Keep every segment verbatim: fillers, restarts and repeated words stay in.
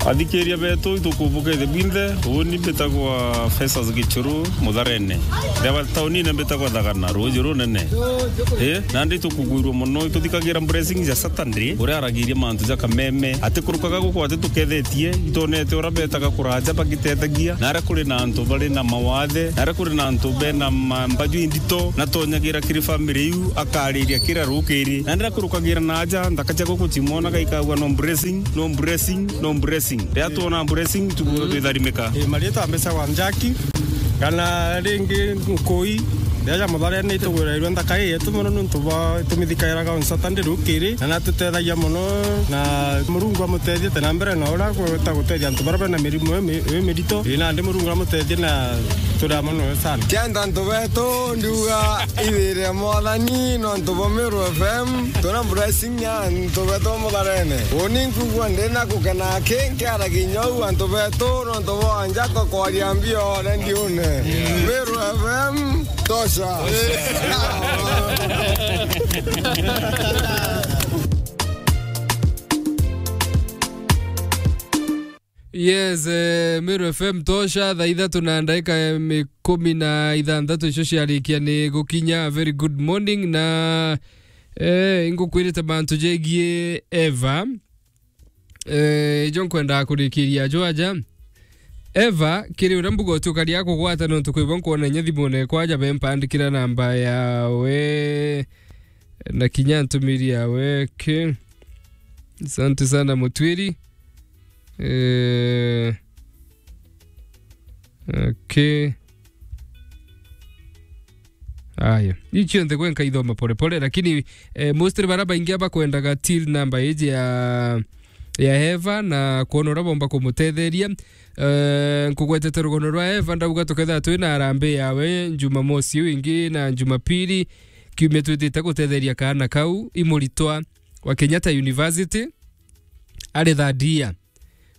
Athikiria betu, itukubuke the bwinthe. Uni mbitagwa Festus Gichuru, Mutharene. Ndeba taunine mbitagwa Thagana, ruuji runene. Eh, nandi itukugwirua mono, ituthikagira blessings ya Saturday, uria aragiria mantu ja kameme. Atikurukaga guku atitukethetie, itonete uria betaga kuraja bagitethegia. Na aria kuri na antu bari na mawathe, na aria kuri na antu bena ma-, mbaju indito, na tonyagira kiri family iu, akariria kira rukiri. Na ndira kurukagira na aja, nthaka cia guku cimwonaga ikagua no blessing, no blessing, no blessing. Riria twona blessing, tukuga twitharimika. Ii, marietwa mbicagwa Njaki, kana ringi Nkui, riria ja Mutharene itugwirairwe nthaka ii yetu mono niuntu bwa tumithikairaga on Saturday rukiri, na natutethagia mono, na Murungu amutethie te na mbere na uria agwita gutethia antu baria bena mirimu ii mi-, ii mirito. Ii, nandi Murungu amutethie na turi amwe nawe sana. Kenda antu betu, ndiuga ithire Mwathani nontu bwa Meru F M, twina blessing ya antu betu Mutharene. Uni nkugua ndina gukena aki, nkiaragia inya uu antu betu nontu bwa nja tukwaria mbio rediune. Meru F M, tosha. Yes, eh, Meru F M tosha, thaa ithatu na ndagika ikumi na ithanthatu icio ciarikia ni gukinya. A very good morning, na, eh, ingukwirite mantu jegie Eva. Eh, ijo nkwendaa kurikiria jo aja. Eva, kiri uria mbuga utukaria kugwata nontu kwibwa nkwona inya thimune kwaja bempandikira namba yawe na kinya ntumiri yawe ki. Asante sana Mutwiri. Eh, okay. Aya. Ii cionthe gwe nkaithoma pole pole, lakini, eh, mostly bara baingi abakwendaga till number iji ya, ya Eva na kwona uria bomba kumutetheria. Eh, nkugwetete rugono rwa Eva, ndauga tukethira twina harambee yawe Jumamosi iu ingi na Jumapili, kiumia twitite gutetheria kaana kau, i muritwa wa Kenyatta University, ari third year.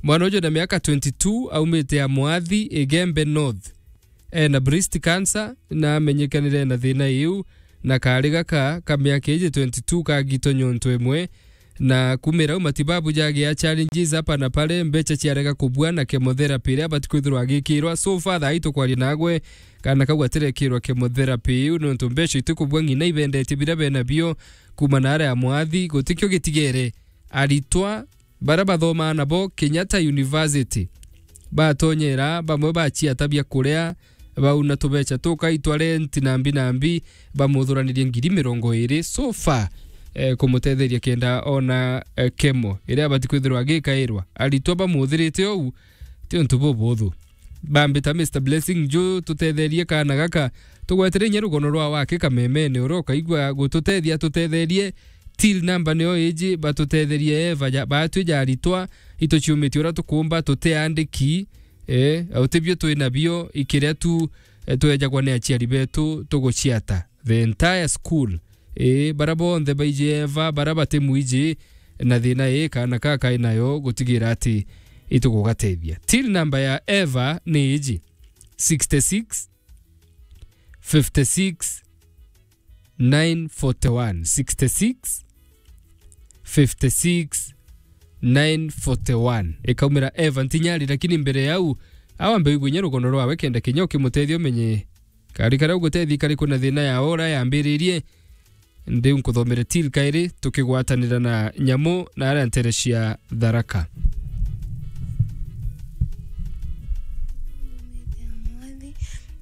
Mwana uju na miaka twenty-two, aumite Amwathi, Igembe North. Ena breast cancer, na amenyekanire na thina iu, na kaari gaka ka miaka iji twenty-two kagitwe nyonto imwe, na kumira au matibabu jagia challenges hapa na pale, mbecha ciarega kubua na chemotherapy iria abati kwithirwa agikirwa. So far, thaa ii tukwaria nagwe, kaana kau gatirekirwa chemotherapy iu, nontu mbecha itikubua ng'ina ibendetie biria benabio kuma na aria Amwathi, gutikio gitigere. Aritwa baria bathomaa nabo Kenyatta University, batonyera, bamwe baciata bia kuria, bauna tubecha tukaitwa rent nambi nambi, bamuthuranirie ngiri mirongo iri so far, eh, kumutetheria kenda ona, eh, chemo iria abati kwithirwa agikairwa. Aritwa bamuthirite ou, ti untu bubuthu. Bambita Mister Blessing Nju, tutetherie kaana gaka, tugwetire inya rugono rwa wake kamemene, uria ukaigua gututethia, tutetherie. Till number nio iji, batutetherie Eva ja, batwi ja aritwa, ituciumitie uria tukumba, tutiandiki, eh, utibio twi nabio, ikiria tu, eh, twejagwa ni aciari betu, tuguciata. The entire school, eh, bara bonthe baiji Eva, bara batimwiji, na thina ii kaana ka kai nayo, gutigira ati itugugatethia. Till number ya Eva ni iji, sixty-six, fifty-six, nine forty-one, sixty-six, fifty-six, nine forty-one. Ikaumira Eva Ntinyari, lakini mbere yau, awambe wigwe inya rugono rwawe kenda kinya ukimutethia umenye kari karia ugutethi kari kuna thina ya ora yambiririe. Ndiu nkuthomere till kairi tukigwatanira na nyamu na aria ntere cia Tharaka. Mwathi,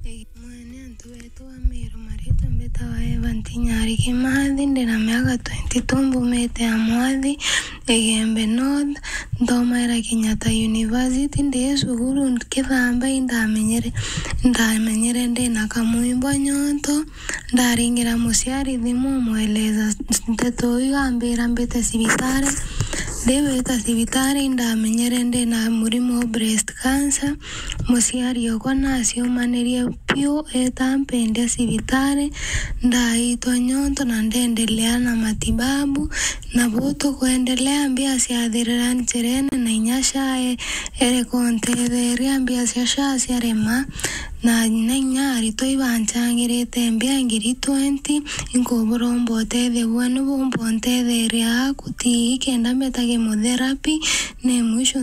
ii, mwene antu betu ba Meru, maritwa mbitawa Eva Ntinyari Kimathi, ndina miaka twenty-two, mbumite Amwathi, Igembe North, nthomaira Kenyatta University, ndi cukuru nkithamba, indamenyere, indamenyere ndina kamwimbwa nyonto, ndaringira muciari thimu, mweleza nteto iu, ambira mbite cibitari. Ndibita cibitari, indamenyere ndina murimo wa breast cancer. Muciari okwa naciumanirie biu, eta mpendia cibitari, ndaitwa nyonto na ndendelea na matibabu. Na buu tukwendelea, mbia ciathirira njerene na inya SHA e-, ereka untetheria, mbia cia SHA ciarema, na na inya aritwa ibancangirite mbia ngiri twenty, inkuburomba utethio bwenu bumba untetheria aku ti kenda mbeta chemotherapy, ni mwisho